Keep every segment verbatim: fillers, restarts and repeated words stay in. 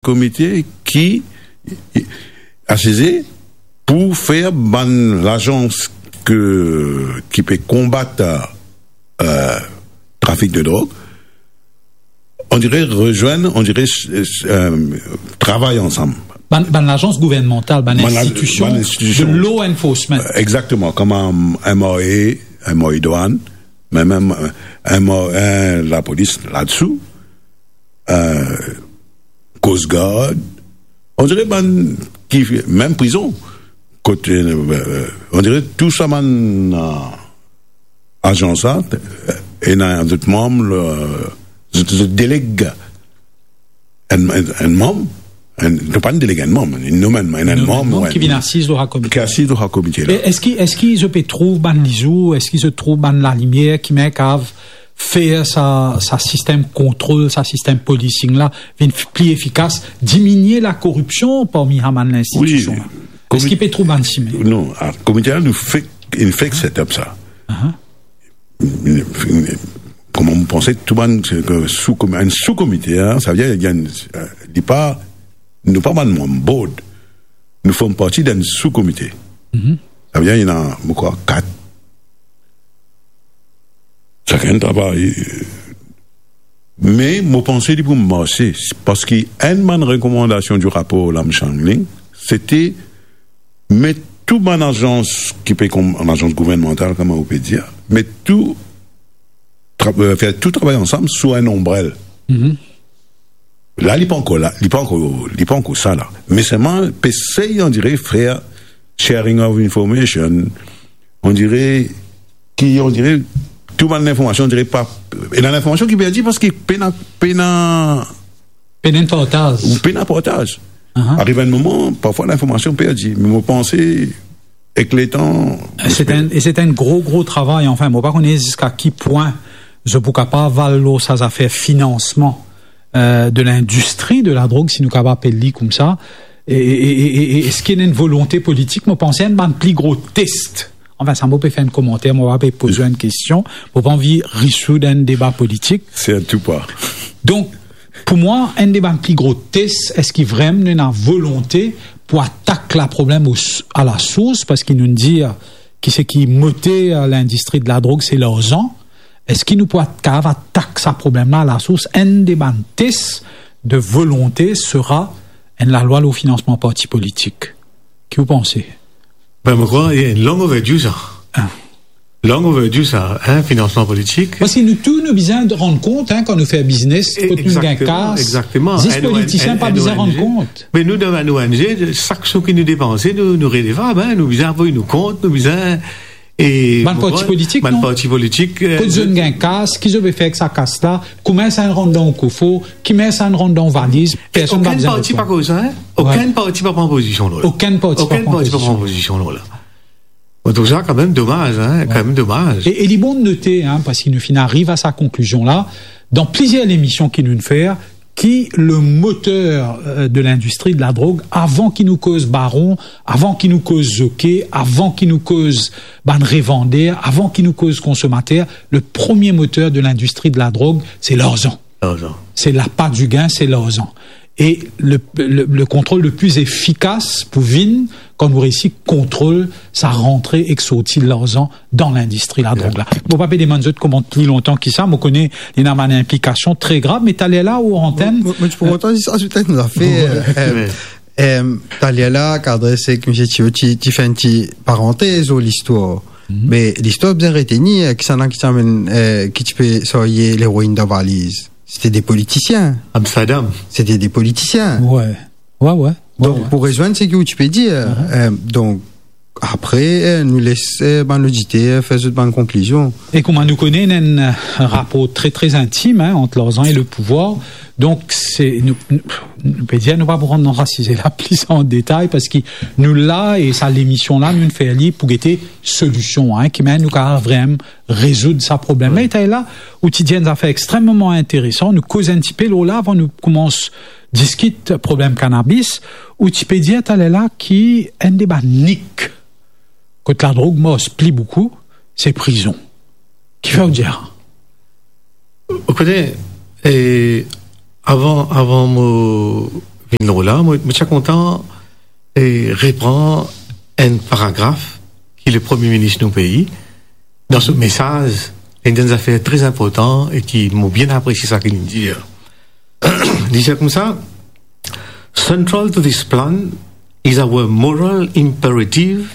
komite ki asize pou fer bann lazans ke, ki pe konbat, euh, trafik de drog, on dirait rejoindre, on dirait, euh, travay ansam. Bann, bann lazans gouvernmantal, bann Bann la-, institision bann institision. De law enforcement. Euh, exactement, comme un, un M R A, un M R A douane, mais même un, un M R A, un, la police là-dessous, euh, Coast Guard, on dirait bann ki, mem prizon, kot, euh, on dirait tou sa bann, euh, azans la, ena zot manm, euh, zot, zot deleg enn, enn, enn manm, enn, nou pa deleg enn manm, nou menm, enn, enn Enn manm, manm ouais, ki vinn asiz lor sa komite. Ki asiz lor sa komite la. E eski, eski zot pe trouv bann lizour, eski zot trouv bann lalimier ki mem kav fer sa, sa sistem kontrol, sa sistem policing la vinn f-, pli efikas, diminie lakoripsion parmi sa bann linstitision la? Wi. Eski pe trouv bann simin? Non, ah, komite la, nou fek, inn fek set up sa. Aha. Kouma mo panse tou bann, euh, sou-komi-, enn sou-komite, hein, sa ve dir, li pa, nou pa bann manm board. Nou form parti d'enn sou-komite. Mhm. Sa ve dir, ena, mo krwar, kat. Sakenn travay. Me mo panse li pou marse, parski enn bann rekomandasion di rapor Lam Chang Ling, sete met tou bann azans ki pe kom, bann azans gouvernmantal, kouma ou pe dir, met tou tra-, euh, fer tou travay ansam sou enn onbrel. Mhm. La, li pa ankor la, li pa ankor, li pa ankor sa la. Me selman, pe sey, on dirait, fer sharing of information, on dirait, ki, on dirait, tou bann linformasion, on dirait pa, ena linformasion ki perdi parski pena, pena Pena partaz. Ou pena partaz. Aha. Ariv enn moman, parfwa linformasion perdi. Me mo panse, ek letan, Se enn, e se enn gro, gro travay. Anfin, mo pa kone ziska ki pwin zot pou kapav al lor sa zafer finansman, euh, de lindistri de ladrog, si nou kapav apel li koumsa. E, e, e, e, e, eski ena enn volonte politik? Mo panse enn bann pli gro tes. Anfin, sa mo pe fer enn komanter, mo pa pe poz ou enn kestion, mo pa anvi risoud enn deba politik. Se a tou pa. Donk, pou mwa, enn de bann pli gro tes, eski vremem nou ena volonte pou atak laproblem o s-, a lasours, parski nou'nn dir ki seki moter lindistri de ladrog, se larzan. Eski nou pou at-, kapav atak sa problem la a lasours? Enn de bann tes de volonte sera enn lalwa lor finansman parti politik. Ki ou panse? Ben, mo krwar, li long overdue, sa. Ah. Long overdue, sa, hein, finansman politik. Parski nou tou, nou bizin rann kont, hein, kan nou fer biznes, E-, kot nou gagn kas, egzakteman. Zis politisien pa bizin rann kont. Me nou, dan bann O N G, sak sou ki nou depanse, nou, nou redevab, hein, nou bizin avoy nou kont, nou bizin, e, bann parti politik, bann parti politik, euh, kot zot inn gagn kas, ki zot pe fer ek sa kas la, kouma sa inn rant dan ou kofo, ki manier sa inn rant dan ou valiz, personn pa bizin reponn. Okenn parti pa koz sa, hein? Okenn parti pa pran pozision lor la. Okenn parti pa pran pozision lor la. Mo trouv sa kanmem domaz, hein, kanmem domaz. E, e li bon note, hein, parski nou finn ariv a sa konklizion la, dan plizier lemision ki nou'nn fer, ki le moter, euh, de lindistri de ladrog, avan ki nou koz baron, avan ki nou koz zoke, avan ki nou koz bann revander, avan ki nou koz konsomater, le premie moter de lindistri de ladrog, se larzan. Larzan. Se lapa di gin, se larzan. E le, le, le kontrol le pli efikas pou vinn kan nou reisi kontrol sa rantre ek sorti larzan dan lindistri ladrog la. Mo pa pe demann zot koman pli lontan ki sa, mo kone li ena bann inplikasion tre grav, me taler la, ou antenn, Mo, mo, mo ti pou kontan zis azout enn zafer, euh, euh, euh, taler la, kadre seki misie Tio ti, ti fer enn ti parantez lor listwar. Mhm. Me listwar bizin retenir, eh, kisannla ki ti amenn, eh, ki ti pe sarye leroin dan valiz? Sete de politisien. Amsterdam. Sete de politisien. Wi. Wi, wi. Donk, pou rezwenn seki ou ti pe dir, eh, donk, apre, eh, nou les, eh, bann oditer fer zot bann konklizion. E kouma nou kone, ena enn, eh, rapor tre, tre intim, hein, ant larzan e le pouvwar. Donk, se, nou, nou, nou pe dir, nou pa pou rant dan sa size la plis an detay, parski nou la, e sa lemision la, nou fer li pou gete solision, hein, ki manier nou kapav vremem rezoud sa problem la. Mhm. E taler la, ou ti dir enn zafer extrememan interesan, nou koz enn tipe lor la avan nou koumans diskit problem kanabis, ou ti pe dir taler la ki enn de bann nik kot ladrog mars pli boukou, se prizon. Kifer ou dir sa? Ou kone, e, avan, avan mo La, mo, mo ti a kontan, e, repran enn paragraf ki le Premie Minis nou pei, dan so mesaz, li dir enn zafer tre inportan e ki mo bien apresie sa ki li dir. Li dir koumsa, "Central to this plan is our moral imperative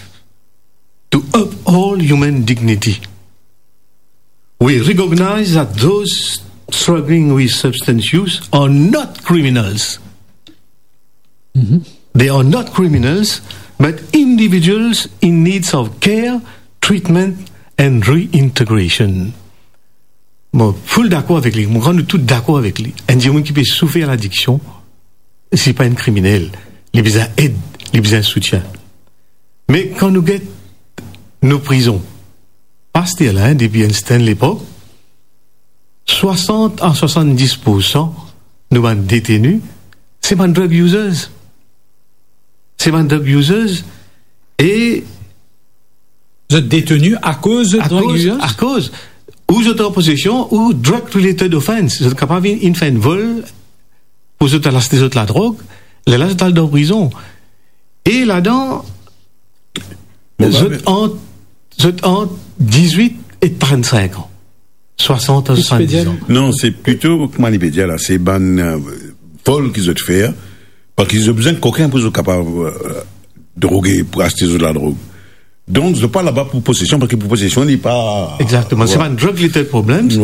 to uphold human dignity. We recognize that those struggling with substance use are not criminals." They are not criminals, but individuals in needs of care, treatment and reintegration. Mo full dakor avek li, mo krwar nou tou dakor avek li. Enn dimoun ki pe soufer ladiksion, se pa enn kriminel, li bizin ed, li bizin soutien. Me kan nou get nou prizon, pa aster la, depi enn sertenn lepok, swasant a swasanndis poursan nou bann deteni, se bann drug users. Se bann drug users e... Zot deteni akoz zot drug users? Akoz, ou zot an posesion ou drug related offense. Zot kapav inn, inn fer enn vol pou zot al aste zot ladrog, lerla zot al dan prizon. E ladan, zot ant, zot ant dizwit e trannsenk an. Swasant a swasanndis an. Non, se plito, kouma li pe dir la, se bann, e, vol ki zot fer, parski zot bizin kokin pou zot kapav, e, droge, pou aste zot ladrog. Donk, zot pa laba pou posesion, parski pou posesion, li pa... Egzakteman. Se bann drug related problems.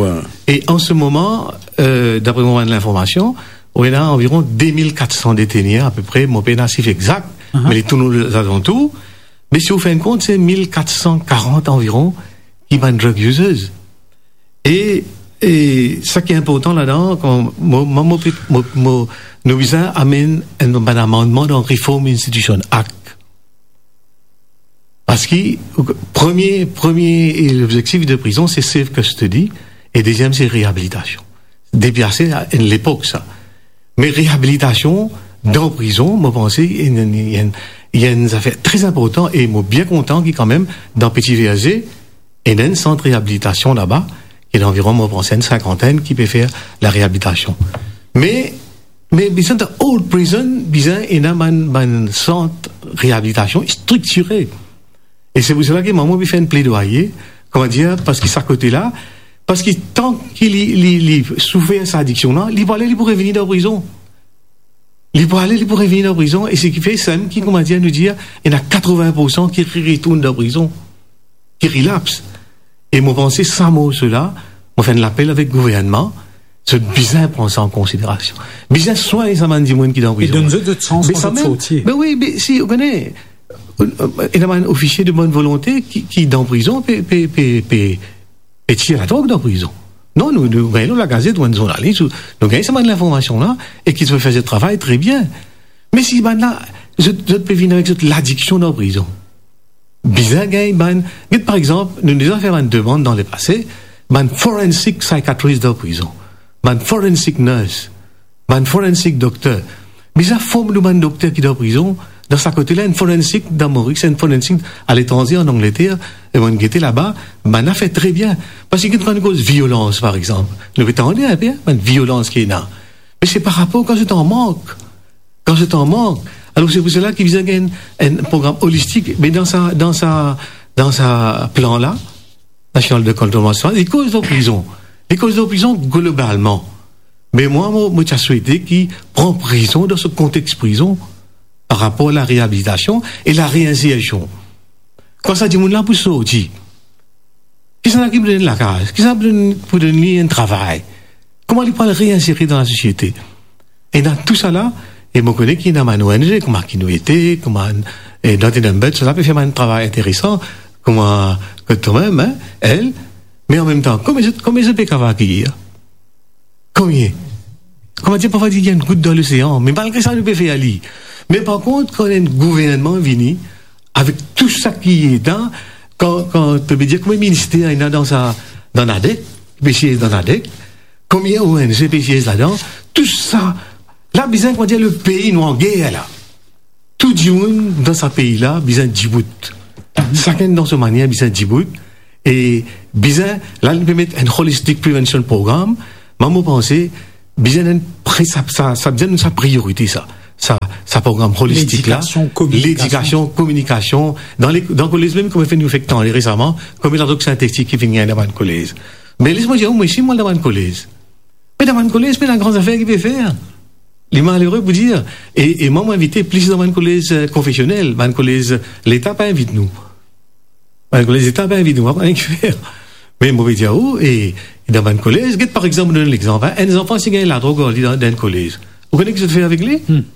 E an se moman, e, dapre mo bann linformasion, ou ena anviron de mil kat san deteni, apepre, mo pena sif egzak, me li tourn ozalantour. Me si ou fer enn kont, se mil kat san karant anviron ki bann drug users. E, e sa ki inportan ladan, kan mo, mo, mo, mo, mo, nou bizin amenn enn bann amannman dan Reform Institution Act. Parski, premie, premie lobzektif de prizon, se safe custody, e deziem, se reabilitasion. Depi ase, enn lepok sa. Me reabilitasion dan prizon, mo panse, ena, ena, ena enn zafer tre inportan, e mo bien kontan ki kanmem, dan Petit Verger, ena enn sant reabilitasion laba, ki ena anviron, mo panse, enn sinkantenn ki pe fer lareabilitasion. Me, me bizin dan old prison, bizin ena bann, bann sant reabilitasion striktire. E se pou sela ki mwa, mo pe fer enn pledwaye, kouma dir, parski sa kote la, parski tan ki li, li, li soufer sa adiksion la, li pou ale, li pou revini dan prizon. Li pou ale, li pou revini dan prizon, e seki fer, samem ki, kouma dir, nou dir, ena katrovin poursan ki re-, retourn dan prizon, ki relapse. E mo panse sa morso la, mo fer enn lapel avek gouvernman, zot bizin pran sa an konsiderasion. Bizin swagn sa bann dimoun ki dan prizon. E donn zot, zot sans pou zot sorti. Be wi, be si, ou kone, ena bann ofisie de bonn volonte ki, ki dan prizon, pe, pe, pe, pe, pe tir ladrog dan prizon. Non, nou, nou gagn lor lagazet, ou enn zournalis, ou, nou gagn sa bann linformasion la, e ki zot fer zot travay tre bien. Me si bann la, zot, zot pe vinn avek zot ladiksion dan prizon. Bizin gagn bann, get par exanp, nou deza fer bann demann dan lepase, bann forensic psychiatrist dan prizon, bann forensic nurse, bann forensic dokter. Bizin form nou bann dokter ki dan prizon, dan sa kote la, enn forensic dan Moris, enn forensic aletranze, an Angleter, e mo'nn gete laba, bann la fer tre bien. Parski kan nou koz violans, par exanp, nou pe tande inpe, bann violans ki ena. Me se par rapor kan zot an mank. Kan zot an mank. Alor, se pou sela ki bizin gagn enn, enn program olistik, me dan sa, dan sa, dan sa plan la, nasional de kontravansyon, li koz lor prizon. Li koz lor prizon globalman. Me mwa, mo, mo ti a swete ki pran prizon dan so kontex prizon par rapor lareabilitasion e lareinsersion. Kan sa dimoun la pou sorti, kisannla ki pou donn li lakaz? Kisannla pou donn, pou donn li enn travay? Kouma li pou al reinsere dan lasosiete? E dan tousala, e mo kone ki ena bann O N G, kouma Ki Nou Ete, kouma, e, Not Enough But, sa pe fer bann travay interesan, kouma kot tomem, hein, El. Me anmemtan, konbien zot, konbien zot pe kapav akeyir? Konbien? Kouma dir, parfwa dir, enn gout dan losean, me malgre sa, nou pe fer li. Me par kont, kan enn gouvernman vini, avek tou sa ki ena, kan, kan, pe dir, konbien minister ena dan sa, dan NADEC, pe siez dan NADEC, konbien O N G pe siez ladan, tou sa, la bizin, kouma dir, lepei nou an ger la. Tou dimoun dan sa pei la bizin dibout. Sakenn dan so manier bizin dibout. E bizin, la, li pe met enn holistic prevention program. Mwa, mo panse, bizin enn pre-, sa, sa, sa bizin enn sa priorite, sa. sa, sa program holistik la. Ledikasion, kominikasion. Ledikasion, kominikasion. Dan le, dan kolez mem, kouma finn nou fer tande resaman, konbien ladrog sintetik ki finn gagn dan bann kolez. Me les mo dir ou, mwa osi, mo al dan bann kolez. Me dan bann kolez, pena gran zafer ki pe fer. Li malere pou dir. E, e mwa, mo invite plis dan bann kolez, eh, konfesionel, bann kolez Leta pa invit nou. Bann kolez Leta pa invit nou, mo pa kone ki fer. Me mo pe dir ou, e, e dan bann kolez, get par exanp, mo donn lexanp, hein, enn zanfan si gagn ladrog ar li dan, dan enn kolez. Ou kone ki zot fer avek li? Hmm.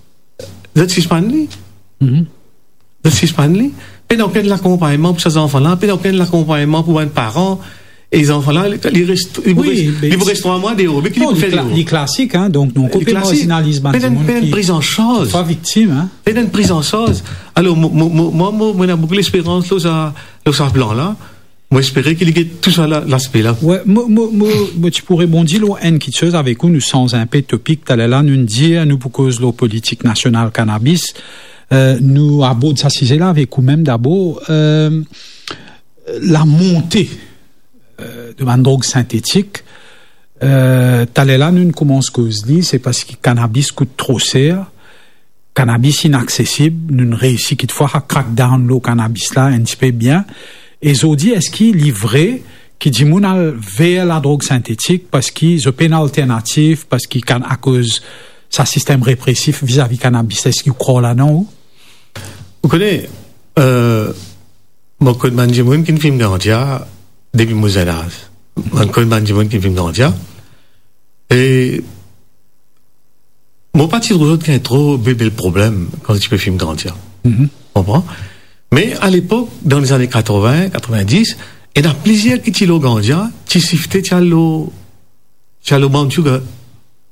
Zot sispann li. Mhm. Zot sispann li. Pena okenn lakonpagnman pou sa zanfan la, pena okenn lakonpagnman pou bann paran. E zanfan la, li, li res, li pou res, li pou res trwa mwa deor. Me ki li pou fer deor? Non, li kla-, li klasik, hein, donk nou, li klasik, pe marzinaliz bann dimoun ki, pena enn priz an sarz, parfwa viktim, hein. Pena enn priz an sarz. Alor, mo, mo, mo, mwa, mo, mo ena boukou lesperans lor sa, lor sa plan la. Mo espere ki li get tou sa la, laspe la. Wi, mo, mo, mo, mo ti pou rebondi lor enn kiksoz avek ou, nou sanz inpe topik. Taler la, nou'nn dir, nou pou koz lor politik nasional kanabis. Eh, nou abord sa size la avek ou mem dabor. Eh, lamonte, eh, de bann drog sintetik. Eh, taler la, nou'nn koumans koz li, se parski kanabis kout tro ser. Kanabis inaksesib, nou'nn reisi kitfwa a crack down lor kanabis la enn tipe bien. E zordi, eski li vre ki dimoun al ver ladrog sintetik parski zot pena alternativ, parski kan-, akoz sa sistem represif vizavi kanabis la, eski ou krwar ladan ou? Ou kone, eh, mo konn bann dimoun ki finn fim gandia depi mo zenaz. Mo konn bann dimoun ki finn fim gandia. E mo pa ti trouv zot gagn tro be-, bel problem kan zot ti pe fim gandia. Mhm. Konpran? Me alepok, dan lezane katrovin, katrevin-dis, ena plizier ki ti lor gandia, ti sifte, ti al lor, ti al lor brown sugar.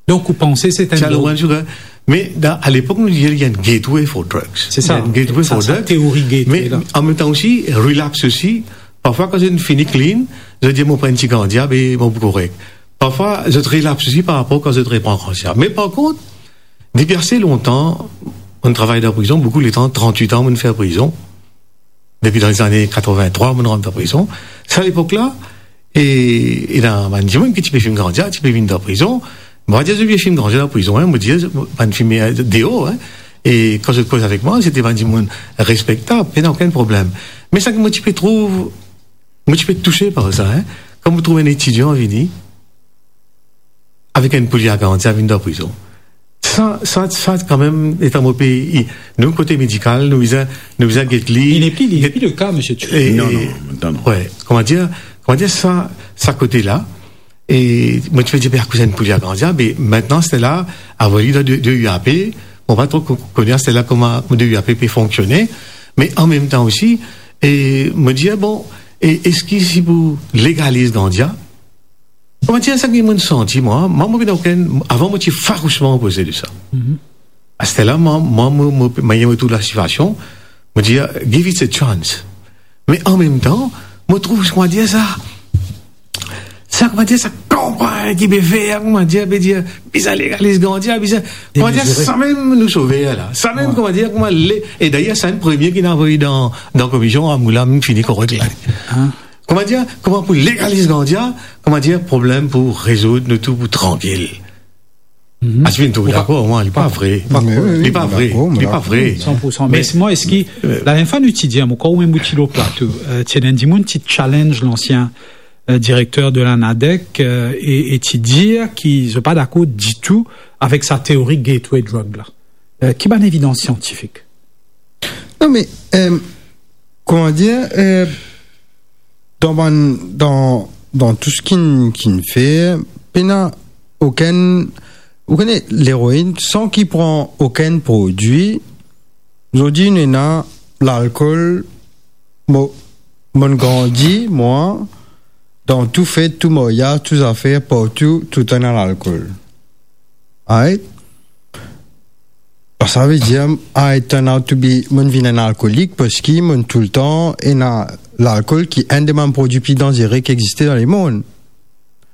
Donk, ou panse se enn... Ti al lor brown sugar. Me dan, alepok, nou dir li enn gateway for drugs. Se sa. Enn gateway for drugs. Sa, sa, teori gateway la. Me an mem tan osi, relapse osi. Parfwa, kan zot fini clean, zot dir, "Mo pran enn ti gandia, be mo pou korek." Parfwa, zot relapse osi par rapor kan zot repran gandia. Me par kont, depi ase lontan, mo'nn travay dan prizon, boukou letan, trant-wit an mo'nn fer prizon. Depi dan lezane katrevin-trwa, mo'nn rant dan prizon. Sa lepok la, e, ena bann dimoun ki ti pe fim gandia, ti pe vinn dan prizon. Mo pa dir zot pe fim gandia dan prizon, hein, mo dir, bann fime deor, hein. E kan zot koz avek mwa, se te bann dimoun respektab, pena okenn problem. Me sa ki mo ti pe trouv, mo ti pe touse par sa, hein. Kan mo trouv enn etidian vini, avek enn poulie a gandia, vinn dan prizon. Sa, sa, sa, kanmem, letan mo pe, i-, nou kote medikal, nou bizin, nou bizin get li. Li nepli, li nepli le ka, misie Tutu. E, non, e, non, non, non. Wi, kouma dir, kouma dir sa, sa kote la, e mo ti pe dir, be akoz enn poulie a gandia, be aster la, avoy li dan de, de UAP, mo pa tro ko-, kone aster la kouma de UAP pe fonksione, me an mem tan osi, e mo dir, bon, e eski si pou legaliz gandia, Kouma dir sa ki mo'nn santi, mwa, mwa, mo pena okenn, avan mo ti farousman opoze de sa. Mhm. Aster la, mwa, mwa, mo, mo, mo, mo trouv lasitiasion, mo dir, "Give it a chance." Me an mem tan, mo trouv, kouma dir sa, sa, kouma dir sa, kanpagn ki pe fer, kouma dir, pe dir, bizin legaliz gandia, bizin, kouma dir, sa mem nou sover la. Sa mem, kouma dir, kouma le, e dayer, sa enn premie ki inn avoy dan, dan komision, a mo la, mo'nn fini korek la. Hein? Kouma dir, kouma pou legaliz gandia, kouma dir, problem pou rezoud, nou tou pou trankil. Mhm. Aster vinn trouv dakor, mwa, li pa vre. Li pa vre, li pa vre. San pou san. Me mwa, eski, lalernfwa nou ti dir, mwa, kan ou mem ou ti lor plato, eh, ti ena enn dimoun ti challenge lansien, eh, direkter de la NADEC, eh, e, e ti dir ki zot pa dakor ditou avek sa teori gateway drug la. Eh, ki bann evidans siantifik? Non, me, eh, kouma dir, eh, dan bann, dan, dan tou seki, ki'nn fer, pena okenn, ou kone, leroinn, san ki pran okenn prodwi, zordi nou ena lalkol, mo, mo'nn grandi, mwa, dan tou fet, tou maryaz, tou zafer, partou, toultan ena lalkol. Right? Ba, savedir, I turn out to be, mo'nn vinn enn alkolik parski mo'nn toultan ena lalkol ki enn de bann prodwi pli danzere ki existe dan lemond.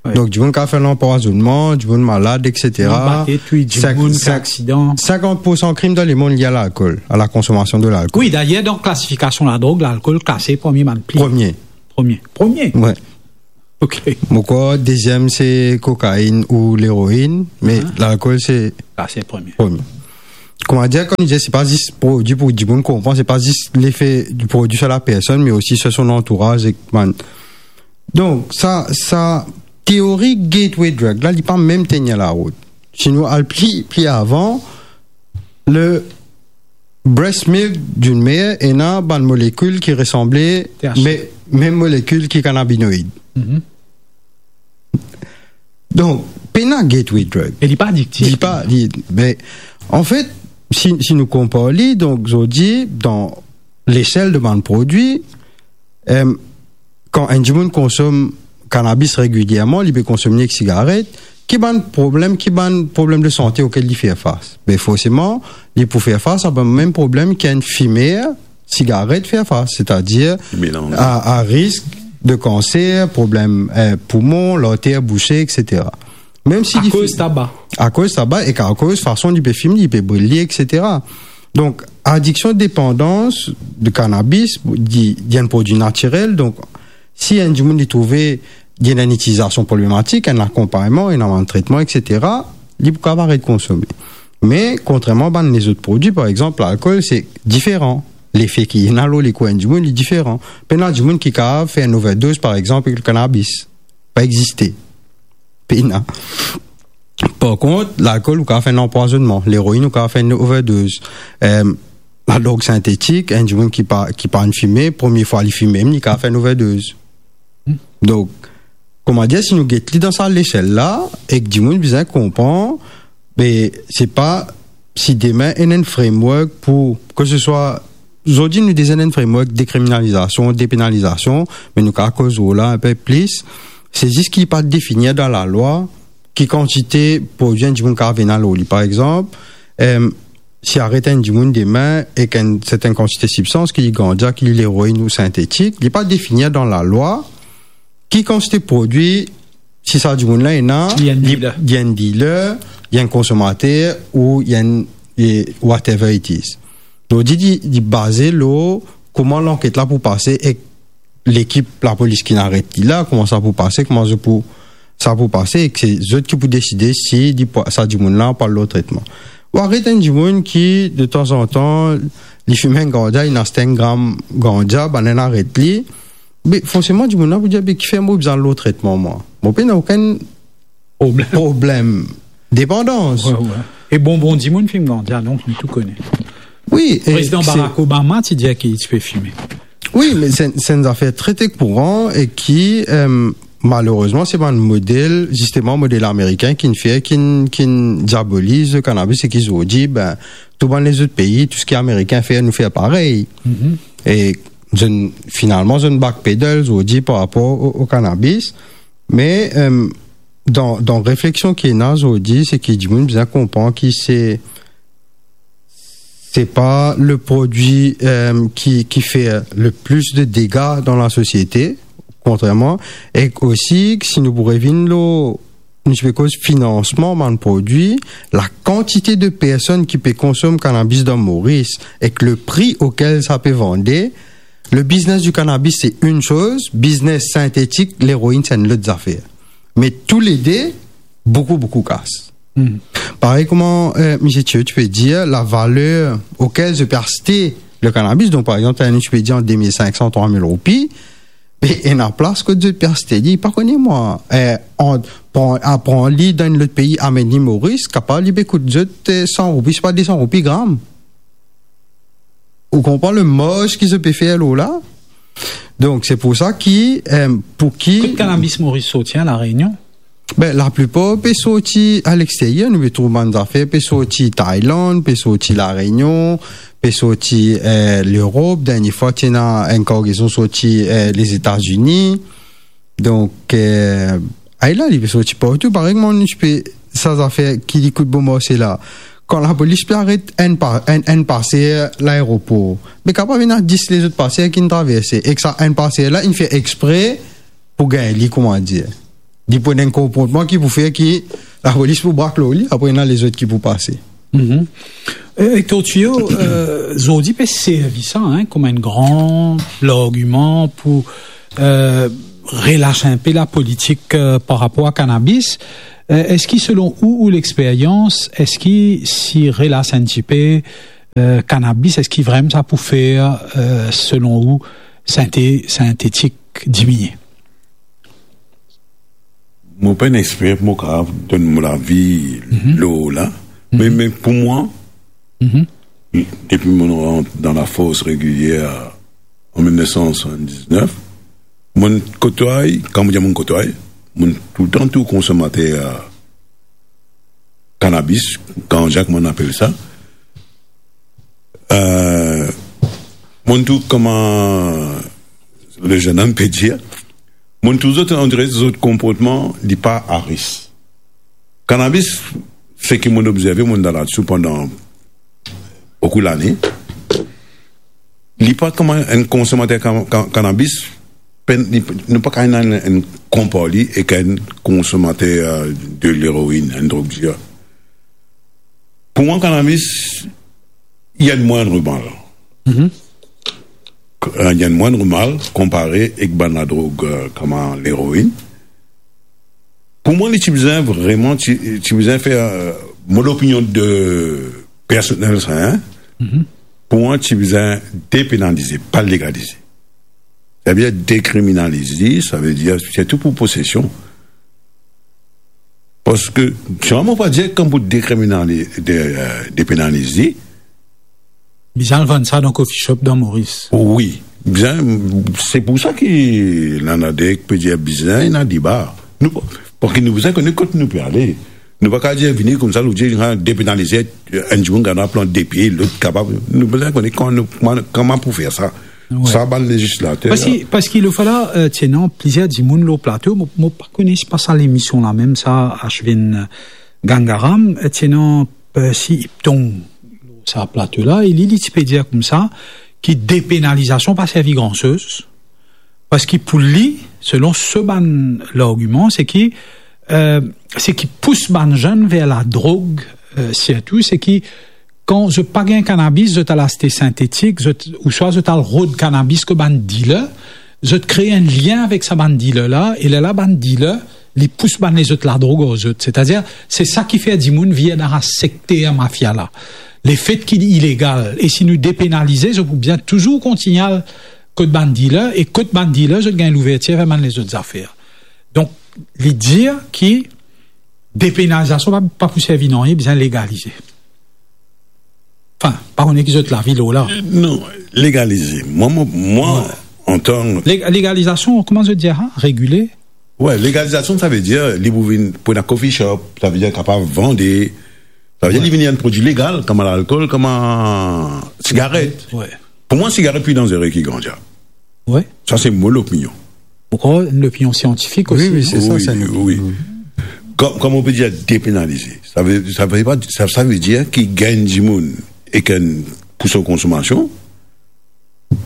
Wi. Donk, dimoun kapav fer lanpwazonnman, dimoun malad, et cetera. Dimoun bate, touy dimoun, sink-, sink-, aksidan. Sinkant poursan krim dan lemond lie a lalkol, a la konsomasion de lalkol. Wi, dayer, dan klasifikasion ladrog, lalkol klase parmi bann pli... Premie. Premie. Premie? Wi. Ok. Mo krwar deziem se kokainn ou leroinn, me lalkol se... Ah, se premie. Premie. kouma dir, kan nou dir, se pa zis prodwi pou dimoun konpran, se pa zis lefe di prodwi sar lapersonn, me osi sar son antouraz ek bann. Donk, sa, sa teori gateway drug la, li pa mem tenir larout. Si nou al pli, pli avan, le breast milk d'une mère ena bann molekil ki resanble, T H C. Me, mem molekil ki kanabinoid. Mhm. Donk, pena gateway drug. E li pa adiktif. Li pa, li, me, anfet, si, si nou konpar li, donk, zordi, dan lesel de bann prodwi, em, kan enn dimoun konsom kanabis regilierman, li pe konsom li ek sigaret, ki bann problem, ki bann problem de sante okel li fer fas? Be, forseman, li pou fer fas a bann mem problem ki enn fimer sigaret fer fas, setadir Melanz. a, a risk de kanser, problem, eh, poumon, larter bouse, et cetera. Mem si li Akoz fi-, taba. Akoz taba ek akoz fason li pe fim, li pe bril li, et cetera. Donk, adiksion, depandans de kanabis, li, li enn prodwi natirel. Donk, si enn dimoun li trouve li ena enn itilizasion problematik, enn akonpagnman, ena bann tretman, et cetera, li pou kapav aret konsome. Me, kontrerman bann lezot prodwi, par exanp, lalkol, se diferan. Lefe ki ena lor lekor enn dimoun, li diferan. Pena dimoun ki kapav fer enn overdoz, par exanp, ek kanabis. Pa existe. Pena. Par kont, lalkol, ou kapav fer enn anpwazonnman. Leroin, ou kapav fer enn overdoz. Em, ladrog sintetik, enn dimoun ki pa, ki pa fime, premie fwa li fime, li kapav fer enn overdoz. Donk, kouma dir, si nou get li dan sa lesel la, ek dimoun bizin konpran, be, se pa si demin ena enn framework pou, ke se swa, zordi nou deza ena enn framework dekriminalizasion, depenalizasion, me nou kapav koz lor la enpe plis, se zis ki li pa definir dan lalwa ki kantite prodwi enn dimoun kapav ena lor li. Par exanp, em, si aret enn dimoun demin ek enn sertenn kantite sibstans, ki li ganja, ki li leroin ou sintetik, li pa definir dan lalwa ki kantite prodwi, si sa dimoun la ena, Li enn li, dealer. li enn dealer, li enn konsomater, ou li enn, e, whatever it is. Donk, li, li, li baze lor kouma lanket la pou pase ek lekip lapolis ki inn aret li la, kouma sa pou pase, kouma zot pou, sa pou pase, ek se zot ki pou deside si li pou, sa dimoun la pou al lor tretman. Ou aret enn dimoun ki, de tanzantan, li fim enn ganja, li aste enn gram ganja, bann inn aret li, be, forseman, dimoun la pou dir, be, kifer mo bizin al lor tretman, mwa? Mo pena okenn Problem. problem. Depandans. Wi, wi. E bonbon dimoun fim ganja, donk nou tou kone. Wi, e Prezidan se Barack Obama ti dir ki li ti pe fime. Wi, me se, se enn zafer tre, tre kouran e ki, em, malerezman, se bann model, zisteman, model amerikin ki'nn fer, ki'nn, ki'nn diaboliz kanabis e ki zordi, ben, tou bann lezot pei, tou seki amerikin fer, nou fer parey. Mhm. E zot, finalman, zot backpedal zordi par rapor o, o kanabis. Me, em, dan, dan refleksion ki ena zordi, se ki dimoun bizin konpran ki se, se pa le prodwi, em, ki, ki fer le plis de dega dan lasosiete, kontrerman, e osi, si nou pou revinn lor, nou ti pe koz finansman bann prodwi, lakantite de personn ki pe konsom kanabis dan Moris, ek le pri okel sa pe vande, le biznes di kanabis, se enn soz, biznes sintetik, leroin, se enn lot zafer. Me toulede, boukou, boukou kas. Hmm. Parey kouma, eh, misie Thio ti pe dir, lavaler okel zot pe aste le kanabis, donk, par exanp, enn, ti pe dir ant de mil sink san, trwa mil roupi, me ena plas kot zot pe aste li, pa kone mwa, eh, ant pran, al pran li dan enn lot pei, amenn li Moris, kapav li pe kout zot, eh, san roupi, sipa de san roupi gram. Ou konpran le marz ki zot pe fer lor la? Donk, se pou sa ki, eh, pou ki Kot kanabis Moris sorti, an, La Rényon? Ben, laplipar pe sorti aleksteryer, nou pe trouv bann zafer pe sorti Tailand, pe sorti La Rényon, pe sorti, eh, Lerop, dernie fwa ti ena enn kargezon sorti, eh, Lezetazini. Donk, eh, ayo la, li pe sorti partou. Parey mwa, nou ti pe, sa zafer ki li kout bon marse la. Kan lapolis pe aret enn pa-, enn, enn paser laeropor, me kapav ena dis lezot paser ki'nn traverse. Ek sa enn paser la, inn fer expre pou gagn li, kouma dir. Li pou ena enn konportman ki pou fer ki lapolis pou brak lor li, apre ena lezot ki pou pase. Mhm. Eh, Hector Thuillot, eh, zordi pe servi sa, hein, kouma enn gran largiman pou, eh, relas inpe lapolitik, eh, par rapor a kanabis. Eh, eski selon ou, ou lexperyans, eski si relas enn tipe, eh, kanabis, eski vremem sa pou fer, eh, selon ou, sinte-, sintetik diminie? Mo pa enn exper, mo kapav donn mo lavi lor la. Me, me pou mwa, depi mo rant dan lafors regilier an mil nef san swasanndiznef, mo kotway, kan mo dir mo kotway, mo toultan tou konsomater kanabis, ganja, kouma nou apel sa. Eh, mo trouv kouma le zennom pe dir, mo trouv zot, on dirait zot konportman, li pa a ris. Kanabis, seki mo obzerve, mo dan ladsou pandan boukou lane, li pa kouma enn konsomater kan-, kan-, kanabis, pe-, li, nou pa kapav ena enn, enn konpar li ek enn konsomater, eh, de leroin, enn drog dir. Pou mwa, kanabis, li enn mwin normal. Mhm. K-, li enn mwin normal konpare ek bann ladrog, eh, kouma leroin. Pou mwa, li ti bizin vreman, ti, ti bizin fer, eh, mo lopinion de personnel sa, hein? Mhm. Pou mwa, ti bizin depenalize, pa legalize. Savedir dekriminalize, savedir sirtou pou posesion. Parski, si mo pa dir kan pou dekriminali-, de, eh, depenalize, bizin al vann sa dan coffee shop dan Moris. Wi, bizin, se pou sa ki Lanadek pe dir bizin ena deba. Nou, parski nou bizin kone kot nou pe ale. Nou pa kapav dir vini koumsa, nou dir, ah, depenalize, enn dimoun kapav plant de pie, lot kapav. Nou bizin kone kouma nou, kouma, kouma pou fer sa. Wi. Sa bann lezislater. Parski, parski lefwa la, eh, ti ena plizier dimoun lor plato, mo, mo pa kone si pa sa lemision la mem sa, Ashwin Gangaram, eh, ti ena, eh, Percy Iptong lor sa plato la, e li, li ti pe dir koumsa ki depenalizasion pa servi gran soz, parski pou li, selon so bann largiman, seki, eh, seki pous bann zenn ver ladrog, eh, sirtou, seki kan zot pa gagn kanabis, zot al aste sintetik, zot, ouswa zot al rod kanabis kot bann dealer, zot kre enn lien avek sa bann dealer la, e lerla bann dealer, li pous bann lezot ladrog ar zot. Setadir, se sa ki fer dimoun vir dan sa sekter mafia la. Lefet ki li ilegal, e si nou depenalize, zot pou bizin touzour kontigne al kot bann dealer, e kot bann dealer, zot gagn louvertir ver bann lezot zafer. Donk, li dir ki depenalizasion pa, pa pou servi nanye, bizin legalize. Anfin, pa kone ki zot lavi lor la. Non, legalize. Mwa, mwa, mwa, wi, antan Leg-, legalizasion, kouma zot dir sa? Regile? Wi, legalizasion, savedir, li pou vinn pou ena coffee shop, savedir kapav vande, savedir, wi, li vinn enn prodwi legal, kouma lalkol, kouma sigaret. Wi. Pou mwa, sigaret pli danzere ki ganja. Wi. Sa se mo lopinion. Ankor enn lopinion siantifik osi, wi, wi, hein? Se sa, wi, sa, wi. Kom, kom nou pe dir depenalize. Sa ve, sa ve pa, sa, sa ve dir ki gagn dimoun ek enn pou so konsomasion,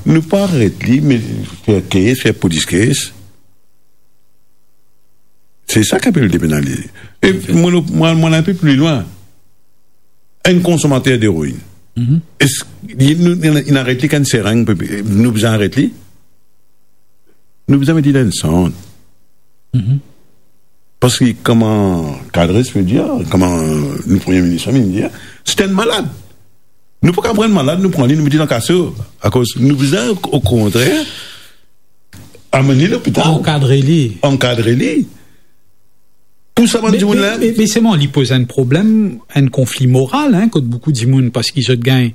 nou pa aret li, me fer case, fer police case. Se sa ki apel depenalize. E mo, mo, mo al enn pe pli lwin. Enn konsomater deroin. Mhm. Eski li, nou, li, li aret li ek enn sereng, nou bizin aret li? Nou bizin met li dan enn sant. Mhm. Parski kouma Kadres pe dir, kouma nou Premie Minis pe dir, se enn malad. Nou pa kapav pran enn malad, nou pran li, nou met li dan kaso. Akoz nou bizin, okontrer, amenn li lopital. Ankadre li. Ankadre li. Pou sa bann dimoun la. Me, me, me selman, li poz enn problem, enn konfli moral, hein, kot boukou dimoun, parski zot gagn,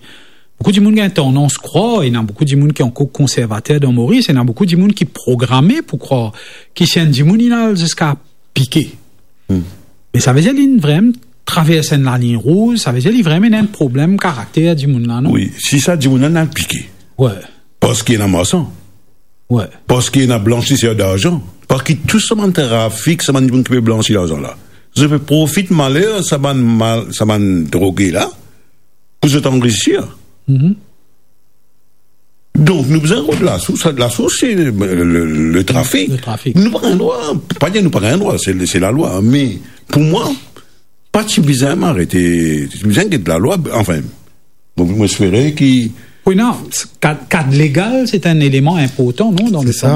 boukou dimoun gagn tandans krwar, ena boukou dimoun ki ankor konservater dan Moris, ena boukou dimoun ki programe pou krwar ki si enn dimoun inn al ziska pike. Hmm. Me sa ve dir li vremem travers enn laliny rouz, sa ve dir li vremem ena enn problem karakter dimoun la, non? Wi, si sa dimoun la inn al pike. Wi. Parski ena marsan. Wi. Parski ena blansiser darzan. Parski tou sa bann trafik, sa bann dimoun ki pe blansi larzan la, zot pe profit maler sa bann mal, sa bann droge la, pou zot anrisir. Mhm. Donk, nou bizin rod lasours, lasours se le, le, le trafik. Le trafik. Nou pa gagn drwa, pa dir nou pa gagn drwa, se, se lalwa. Me pou mwa, pa ti bizin arete, ti bizin get lalwa, anfin, mo, mo espere ki... Wi, non, kad, kad legal, se enn eleman inportan, non, dan le... Se sa.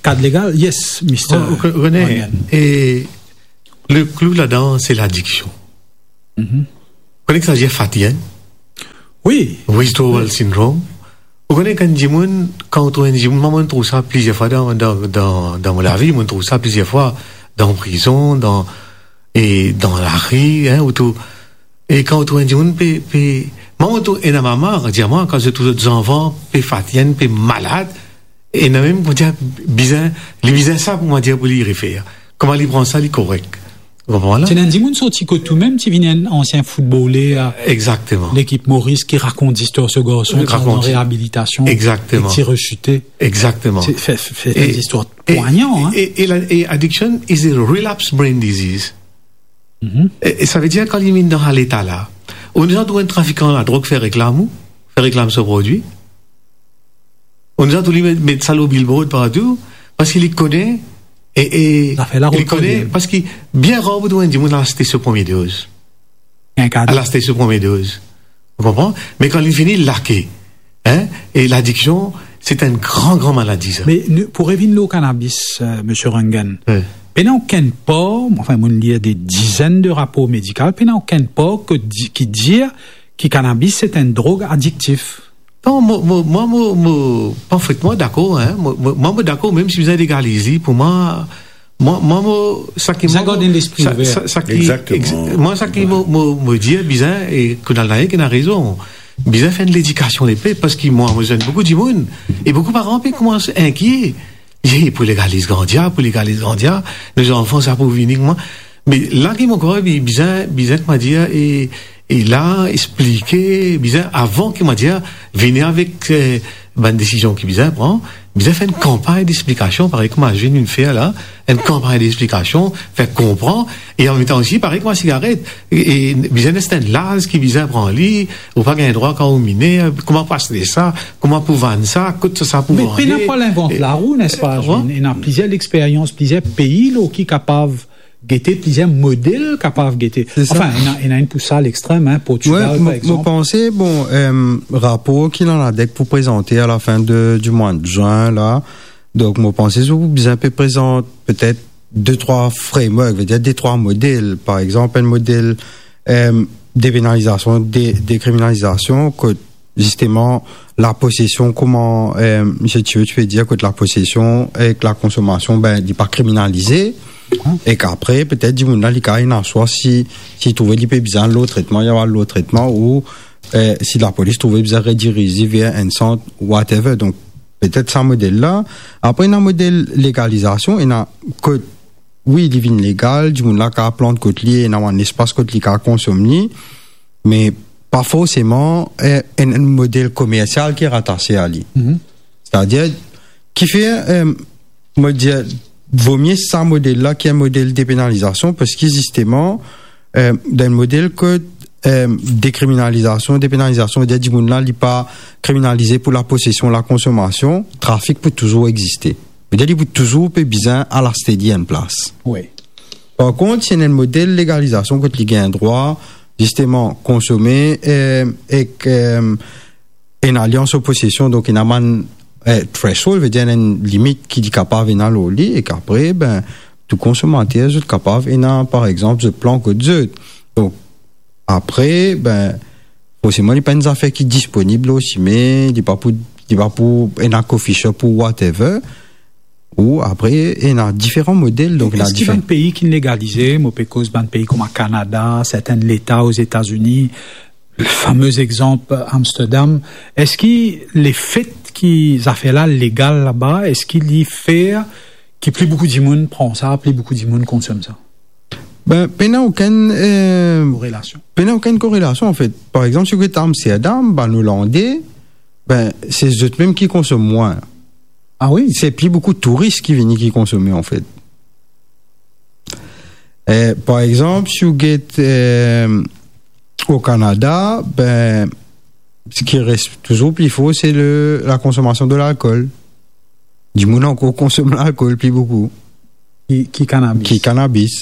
Kad legal, yes, mister... Oh, ok, René, Ryan. E Le klou ladan, se ladiksion. Mhm. Ou kone ki sa dir fatienn? Wi. Withdrawal syndrome. Ou kone kan dimoun, kan ou trouv enn dimoun, mwa, mo trouv sa plizier fwa dan, dan, dan, dan mo lavi, mo trouv sa plizier fwa dan prizon, dan, e dan lari, hein, ou tou-, e kan ou trouv enn dimoun pe, pe, mwa, mo trouv ena mama, dir mwa, kan zot trouv zot zanfan pe fatienn, pe malad, ena mem, mo dir, bizin, li bizin sa pou, mo dir, pou li refer. Kouma li pran sa, li korek. Ou konpran la? Ti ena enn dimoun sorti kot ou mem, ti vinn enn ansien foutboler, a, Exactement. Lekip Moris, ki rakont zistwar so garson, ki al dan Rakont. Reabilitasion, Exactement. Ek ti resite. Exactement. Se, se, se E, enn zistwar e, pwagnan, hein. E, e la, e addiction is a relapse brain disease. Mhm. E, e sa ve dir kan li vinn dan sa leta la, ou ena trouv enn trafikan ladrog fer reklam ou, fer reklam so prodwi. Ou ena trouv li met, met sa lor billboard partou, parski li kone, e, e Zafer la li rod kone, problem. Parski bien rar pou trouv enn dimoun al aste so premie doz. Enn kado. Al aste so premie doz. Ou konpran? Me kan li fini, lake. Hein? E ladiksion, se enn gran, gran maladi, sa. Me nou, pou revinn lor kanabis, euh, Misie Röntgen, Wi. Pena okenn par, anfin, mo'nn lir de dizenn de rapor medikal, pena okenn par ki di-, ki dir ki kanabis se enn drog adiktif. Non, mo, mo, mwa, mo, mo, parfetman dakor, hein. Mo, mo, mwa, mo dakor, mem si bizin legaliz li, pou mwa, mwa, mwa, mo, sa ki Bizin mwa, gard enn lespri sa, ouver. Sa, sa ki, Exactement. Ex-, mwa, sa ki mo, mo, mo dir, bizin, e Kunal Nayak ena rezon. Bizin fer enn ledikasion lepep, parski mwa, mo zwenn boukou dimoun, e boukou paran pe koumans inkiet. Ye, pou legaliz ganja, pou legaliz ganja, nou zanfan sa pou vini kouma. Me la ki mo krwar, bi-, bizin, bizin, kouma dir, e, e la, esplike, bizin, avan ki, kouma dir, vini avek, eh, bann desizion ki bizin pran, bizin fer enn kanpagn dexplikasion, parey kouma zot inn fer la, enn kanpagn dexplikasion, fer konpran, e anmemtan osi, parey kouma sigaret, e, e bizin ena enn laz ki bizin pran li, ou pa gagn drwa kan ou miner, kouma pou aste sa, kouma pou vann sa, kot sa, sa pou vande. Me pena pou al invant larou, nespa, Wi. Ena plizier lexperyans, plizier pei, la, ki kapav gete, plizier model kapav gete. Se sa. Anfin, ena, ena enn pou sa, lextrem, hein, Portugal, Wi, mo, par mo egzanp. Panse, bon, eh, rapor ki Lanadec pou prezante a la fin de, di mwa de zin, la. Donk, mo panse, zot pou bizin pe prezant petet de, trwa framework, ve dir de, trwa model. Par egzanp, enn model, eh, depenalizasion, de, dekriminalizasion, kot zisteman, laposesion, kouma, eh, Misie Tio ti pe dir, kot laposesion ek lakonsomasion, ben, li pa kriminalize. Mhm. Ek apre, petet, dimoun la, li kapav ena swa si, si li trouve li pe bizin al lor tretman, li al lor tretman, ou, eh, si lapolis trouve bizin rediriz li ver enn sant, whatever. Donk, petet sa model la. Apre, ena model legalizasion, ena kot, wi, li vinn legal, dimoun la kapav plant kot li, ena enn lespas kot li kapav konsom li, me pa forseman, eh, enn, enn model komersial ki ratase a li. Mhm. Setadir, kifer, eh, mo dir, vomie sa model la ki enn model depenalizasion, parski zisteman, eh, dan enn model kot, eh, dekriminalizasion, depenalizasion, ve dir dimoun la, li pa kriminalize pou laposesion, lakonsomasion, trafik pou touzour existe. Ve dir, li pou touzour pe bizin al aste li enn plas. Wi. Par kont, si ena enn model legalizasion kot li gagn drwa, zisteman, konsome, eh, ek, eh, ena li an so posesion, donk ena bann, eh, threshold, ve dir ena enn limit ki li kapav ena lor li, ek apre, ben, tou konsomater, zot kapav ena, par egzanp, zot plant kot zot. Donk, apre, ben, forseman, li pa enn zafer ki disponib lor sime, li pa pou, li pa pou ena coffee shop ou whatever, ou apre, ena diferan model, donk ena Eski difer- bann pei ki legalize, mo pe koz bann pei kouma Kanada, sertin leta Ozetazini, le fame egzanp Amsterdam, eski lefet ki zafer la legal laba, eski li fer ki pli boukou dimoun pran sa, pli boukou dimoun konsom sa? Ben, pena okenn, eh, Korelasion. Pena okenn korelasion, anfet. Par egzanp, si ou get Amsterdam, bann Olande, ben, se zot mem ki konsom mwin. Ah wi? Se pli boukou touris ki vini ki konsome, anfet. Eh, par egzanp, si ou get, eh, o Kanada, ben, seki res touzour pli for, se le, lakonsomasion de lalkol. Dimoun ankor konsom lalkol pli boukou. Ki, ki kanabis. Ki kanabis.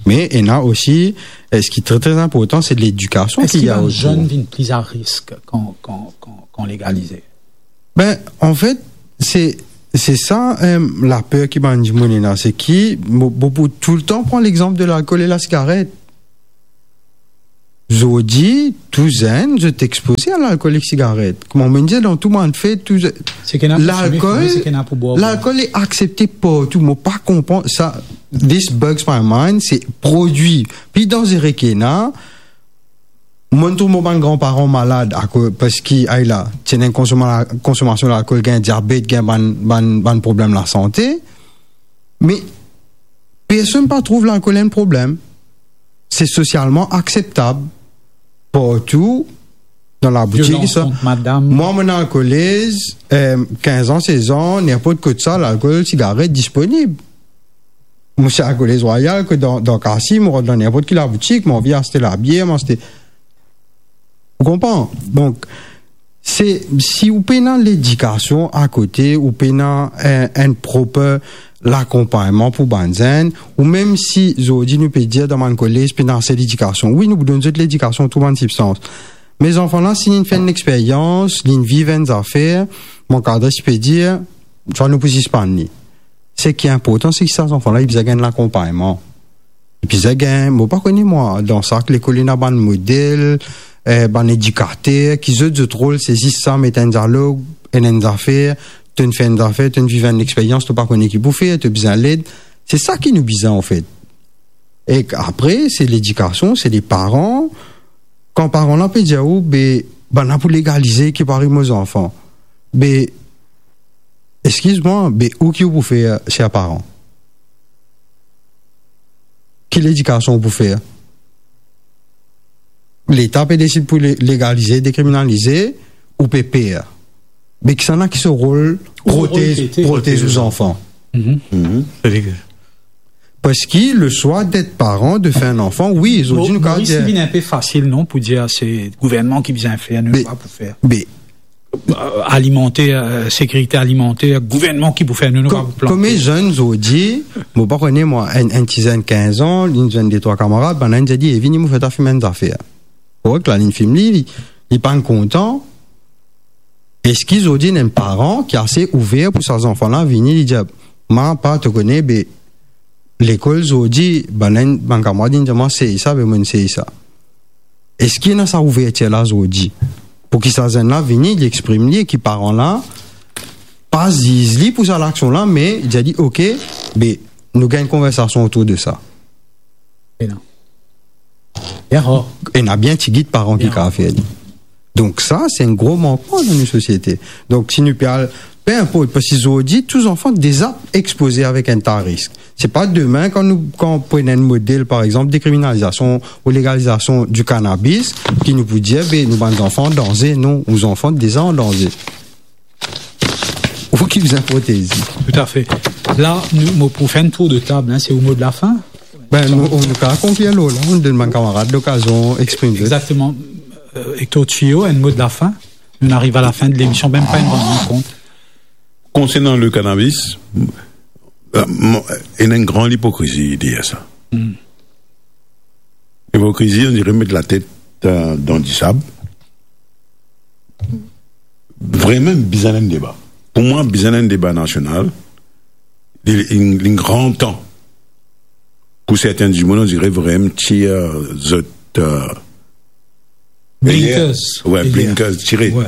Me ena osi, eh, seki tre, tre inportan, se ledikasion ki Eski ena bann otour. Zenn vinn pli a risk kan, kan, kan, kan legalize? Ben, anfet, se, Se sa, em, laper ki bann dimoun ena, se ki, mo, mo pou toultan pran lexanp de lalkol e lasigaret. Zordi, tou zenn, zot expoze a lalkol ek sigaret. Kouma mo'nn dir, dan tou bann fet, tou ze-, Se ki ena pou fime, lalkol, fime, se ki ena pou bwar, bwar. Lalkol li aksepte partou. Mo pa konpran sa. This bugs my mind. Se prodwi pli danzere ki ena. Mo'nn trouv mo bann granparan malad akoz, parski, ay la, ti ena enn konsoma-, konsomasion lalkol, gagn diabet, gagn bann, bann, bann problem lasante. Me personn pa trouv lalkol enn problem. Se sosialman akseptab partou dan laboutik, sa. Violans kont madam. Mwa, mo ena lalkol, eh, kinz an, sez an, ninport kot sa, lalkol, sigaret disponib. Mo ti al Kolez Rwayal, kot dan, dan kartie, mo rant dan ninport ki laboutik, mo anvi aste labier, mo aste. Ou konpran? Donk, se, si ou pena ledikasion akote, ou pena enn, enn proper lakonpagnman pou bann zenn, ou mem si zordi nou pe dir dan bann kolez pena ase ledikasion. Wi, nou pou donn zot ledikasion, tou bann sibstans. Me zanfan la, si linn fer enn experyans, linn viv enn zafer, mo ankadre ti pe dir, swa nou pou sispann li. Seki inportan, se ki sa zanfan la, li bizin gagn lakonpagnman. Li bizin gagn, mo pa kone mwa, dan sak lekol ena bann model, eh, bann edikater, ki zot, zot rol, se zis sa, met enn dialog, enn, enn zafer, to'nn fer enn zafer, to'nn viv enn experyans, to pa kone ki pou fer, to bizin led. Se sa ki nou bizin, anfet. Ek apre, se ledikasion, se leparan. Kan paran la pe dir ou, be, bann la pou legalize, ki pou ariv mo zanfan. Be, eskiz mwa, be, ou ki ou pou fer, ser paran? Ki ledikasion ou pou fer? Leta pe desid pou le-, legalize, dekriminalize, ou pe per. Be, kisannla ki so rol? Ou rol protez, pete, protez ou zanfan. Mhm. Mhm. Parski le swa d'et paran, de fer enn zanfan, wi, zordi nou kapav dir. Moris, li vinn inpe fasil, non, pou dir se gouvernman ki bizin fer, nou pa pou fer. Be, eh, alimenter, eh, sekirite alimenter, gouvernman ki pou fer, nou, nou pa pou plante. Kouma zenn zordi, mo pa kone mwa, enn, enn ti zenn kinz an, linn zwenn de trwa kamarad, bann la inn dir li, "Eh, vini, mo fer twa fim enn zafer." Korek, la linn fim li, li, li pa'nn kontan. Eski zordi ena enn paran ki ase ouver pou sa zanfan la vini, li dir, "Ma, pa, to kone, be, lekol zordi, bann, bann kamarad inn dir mwa sey sa, be, mo'nn sey sa." Eski ena sa ouvertir la zordi? Pou ki sa zenn la vini, li exprim li, e ki paran la pa ziz li pou sa laksion la, me dir li, "Ok, be, nou gagn konversasion otour de sa." Ena. Ena bien tigit paran ki kapav fer li. Donk sa, se enn gro mankman dan nou sosiete. Donk si nou pe al, pe inport, parski zordi, tou zanfan deza expoze avek enn ta risk. Se pa demin, kan nou, kan pran enn model, par exanp, dekriminalizasion ou legalizasion di kanabis, ki nou pou dir, be, nou bann zanfan an danze. Non, ou zanfan deza an danze. Ou ki bizin protez. Toutafe. La, nou, mo pou fer enn tour de tab, hein, se ou mo de lafin? Ben, nou, nou kapav konklir lor la, nou donn bann kamarad lokazion exprim zot. Exactement. Euh, Hector Thuillot, un mot de la fin. Nou ariv a la fin de lemision, mem pa enn rann kont. Konsernant le cannabis, euh, mo-, ena enn gran ipokrizi deryer sa. Hmm. Ipokrizi, on dirait met latet, euh, dan disab. Vreman bizin enn deba. Pou mwa, bizin enn deba nasional. Li, li, li gran tan pou serten dimoun, on dirait, vreman tir, euh, zot, euh, blinkers. Wi, blinkers, tire. Wi.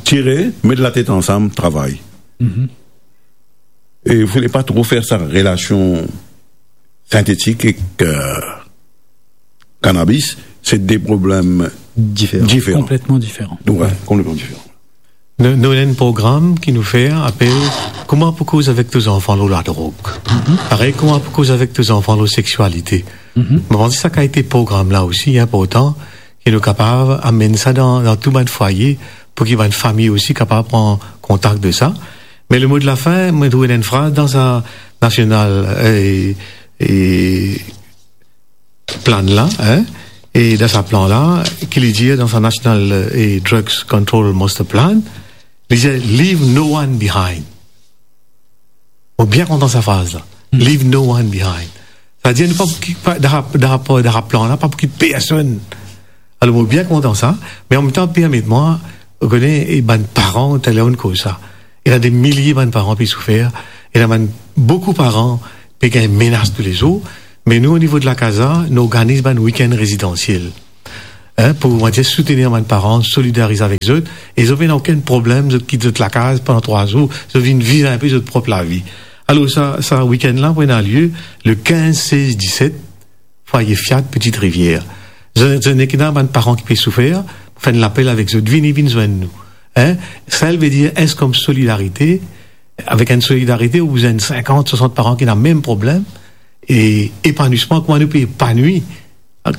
Tire, met latet ansam, travay. Mhm. E fode pa tro fer sa relasion sintetik ek, euh, cannabis, se de problem diferan. Diferan. Konpletman diferan. Wi, konpletman diferan. Nou, nou ena enn program ki nou fer apel Kouma pou koz avek to zanfan lor ladrog. Mhm. Parey, kouma pou koz avek to zanfan lor seksialite. Mhm. Mo panse sa kalite program la osi inportan ki nou kapav amenn sa dan, dan tou bann fwaye pou ki bann fami osi kapav pran kontak de sa. Me le mo de la fin, mo trouv enn fraz dan sa nasional, eh, eh, plan la, hein, e dan sa plan la, ki li dir dan sa National, eh, Drugs Control Master Plan, li dir, "Leave no one behind." Mo bien kontan sa fraz la. Hmm. "Leave no one behind." Savedir nou pa pou kit, pa, dan, dan, dan plan la, pa pou kit personn. Alor, mo bien kontan sa, me anmemtan, permet mwa, ou kone, e bann paran, taler ou'nn koz sa. Ena de milie bann paran pe soufer, ena bann, boukou paran pe gagn menas toulezour, me nou, o nivo de la CASA, nou organiz bann wikenn rezidansiel. Hein, pou, on va dir, soutenir bann paran, solidarize avek zot, e zot pena okenn problem, zot kit zot lakaz pandan trwa zour, zot vinn viv inpe zot prop lavi. Alor, sa, sa wikenn la pou ena lie le kinz, sez, diset, Fwaye Fiat, Petite Rivière. Zot, zot nek ena bann paran ki pe soufer, fer enn lapel avek zot, vini, vinn zwenn nou. Hein? Sa, li ve dir, es kom solidarite, avek enn solidarite, ou bizin sinkant, swasant paran ki ena mem problem, e epanwisman, kouma nou pe epanwi,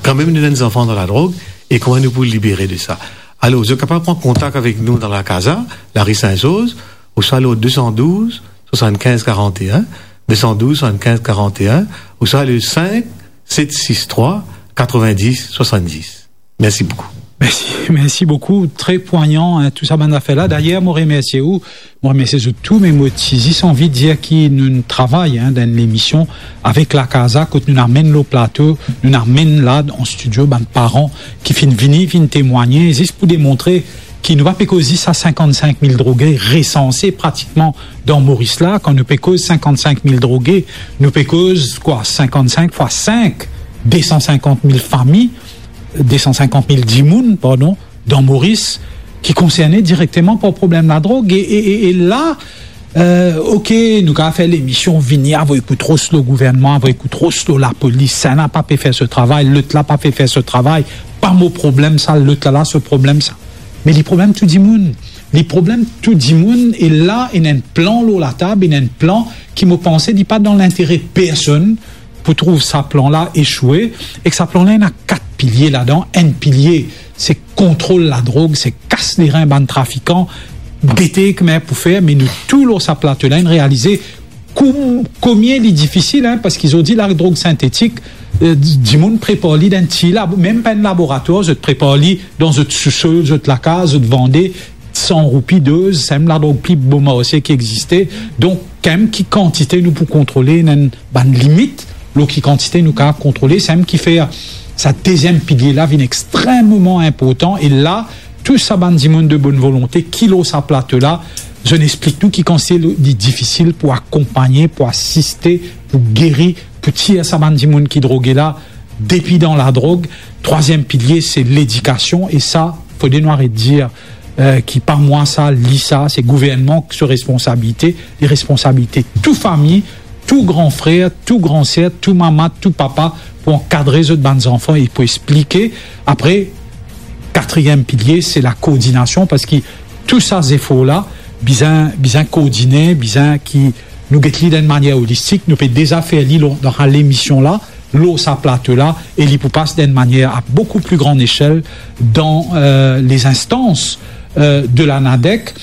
kanmem nou ena zanfan dan ladrog, e kouma nou pou libere de sa. Alor, zot kapav pran kontak avek nou dan la CASA, lari Sin-Zorz, ouswa lor de san douz, swasann-kinz karant-e-enn, de san douz, swasann-kinz karant-e-enn, ouswa le sink set sis trwa, katrovin-dis, swasann-dis. Mersi boukou. Mersi, mersi boukou. Tre pwayan, hein, tou sa bann zafer la. Dayer, mo remersie ou, mo remersie zot tou, me mo ti zis anvi dir ki nou travay, hein, dan enn lemision avek la CASA, kot nou amenn lor plato, nou amenn la an stidio bann paran ki finn vini, finn temwagne, zis pou demontre ki nou pa pe koz zis sa sinkant-sink mil droge resanse pratikman dan Moris la. Kan nou pe koz sinkant-sink mil droge, nou pe koz kwa, sinkant-sink fwa sink, de san sinkant mil fami, de san sinkant mil dimoun, pardon, dan Moris, ki konserne direkteman par problem ladrog. E, e, e, e la, euh, ok, nou kapav fer lemision, vini, avoy kout ros lor gouvernman, avoy kout ros lor lapolis, sa la pa pe fer so travay, lot la pa pe fer so travay, pa mo problem sa, lot la, la so problem sa. Me li problem tou dimoun. Li problem tou dimoun, e la, ena enn plan lor latab, ena enn plan ki mo panse li pa dan lintere personn, pou trouv sa plan la esoue, e ki sa plan la ena kat pilie ladan. Enn pilie, se kontrol ladrog, se kas lerin bann trafikan, gete kouma pou fer, me nou tou lor sa plato la, inn realize kom-, komie li difisil, hein, parski zordi ladrog sintetik, euh, di-, dimoun prepar li dan ti lab-, mem pa enn laboratwar, zot prepar li dan zot sousol, zot lakaz, zot vande, san roupi doz, sa mem ladrog pli bon marse ki existe. Donk, kanmem ki kantite nou pou kontrole, ena enn bann limit lor ki kantite nou kapav kontrole, sa mem ki fer sa deziem pilie la vinn extrememan inportan. E la, tou sa bann dimoun de bonn volonte ki lor sa plato la, zot inn explik nou ki kantite li difisil pou akonpagne, pou asiste, pou geri, pou tir sa bann dimoun ki droge la depi dan ladrog. Trwaziem pilie, se ledikasion, e sa, fode nou aret dir, euh, ki pa mwa sa, li sa, se gouvernman ki so responsabilite, li responsabilite tou fami, tou gran frer, tou gran ser, tou mama, tou papa, pou ankadre zot bann zanfan e pou explike. Apre, katriem pilie, se lakoordinasion, parski tou sa zefor la, bizin, bizin koordine, bizin ki nou get li dan enn manier olistik. Nou pe deza fer li lor, dan sa lemision la, lor sa plato la, e li pou pas dan enn manier a boukou pli gran esel dan, euh, les instances, euh, de la NADEC.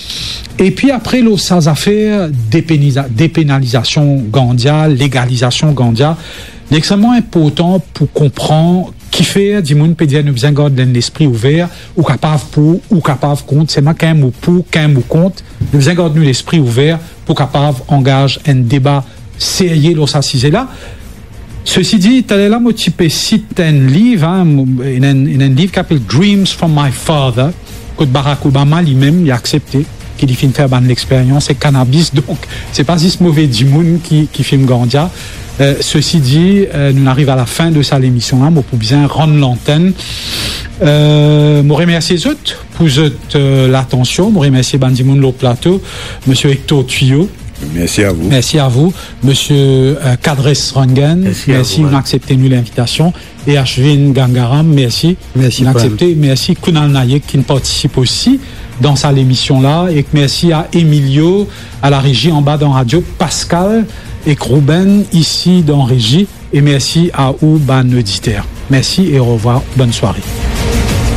Epi apre, lor sa zafer depeniza-, depenalizasion ganja, legalizasion ganja, li extrememan inportan pou konpran kifer dimoun pe dir nou bizin gard enn lespri ouver, ou kapav pou, ou kapav kont, selman kan ou pou, kan ou kont, nou bizin gard nou lespri ouver pou kapav angaz enn deba serye lor sa size la. Sesi di, taler la, mo ti pe sit enn liv, hein, mo, enn, enn, enn liv ki apel Dreams from My Father, kot Barack Obama limem, li aksepte ki li finn fer bann lexperyans ek kanabis. Donk, se pa zis move dimoun ki, ki fim ganja. Euh, sesi di, euh, nou ariv a lafin de sa lemision la, mo pou bizin rann lantenn. Euh, mo remersie zot pou zot, euh, latansion. Mo remersie bann dimoun lor plato, Misie Hector Tuyo. Mersi a vou. Mersi a vou, Misie, euh, Kadres Rangen. Mersi a vou, inn aksepte nou linvitasion. E Ashwin Gangaram, mersi. Mersi, inn aksepte. Mersi Kunal Nayak ki partisip osi dan sa lemision la. Ek mersi a Emilio, a la rezi anba dan radio, Pascal ek Ruben isi dan rezi. E mersi a ou, bann oditer. Mersi e orevwar. Bonn sware.